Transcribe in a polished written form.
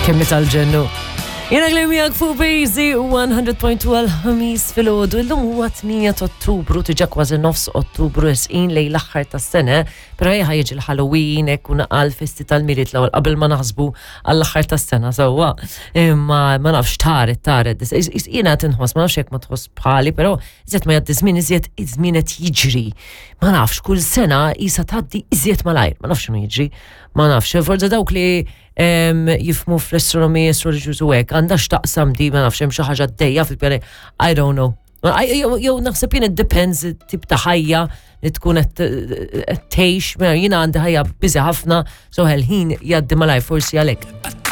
Kemm tal-ġennu. Jena għlim miegħek fuq Bejzi 100.2 għal-ħamis fil-ħodu. Illum huwa 8 ta' Ottubru, tiġa kważi nofs Ottubru esqin lej l-aħħar tas-sena, però ejja jiġi l-Halloween hekk u naqal festi tal-Milied l-ewwel qabel ma naħsbu għall-aħħar tas-sena sewwa. Imma ma nafx taret taret. Jiena qed inħoss, ma nafx jekk ma tħoss bħali, però iżjed ma jgħaddi żmien iżjed iż-żmien qed jiġri. Ma nafx kull sena qisha tgħaddi iżjed malajr, ma nafx x'inhu jiġri. Ma nafx, forza dawk li jifmu fl-astronomija, astrology u hekk, għandha x'taqsam di, ma nafx hemm xi ħaġa dejja fil-pjani, I don't know. Jew naħseb jien it depends tip ta' ħajja li tkun qed tgħix, mela jiena għandi ħajja biżi ħafna, so ħin jgħaddi malaj forsi għalhekk.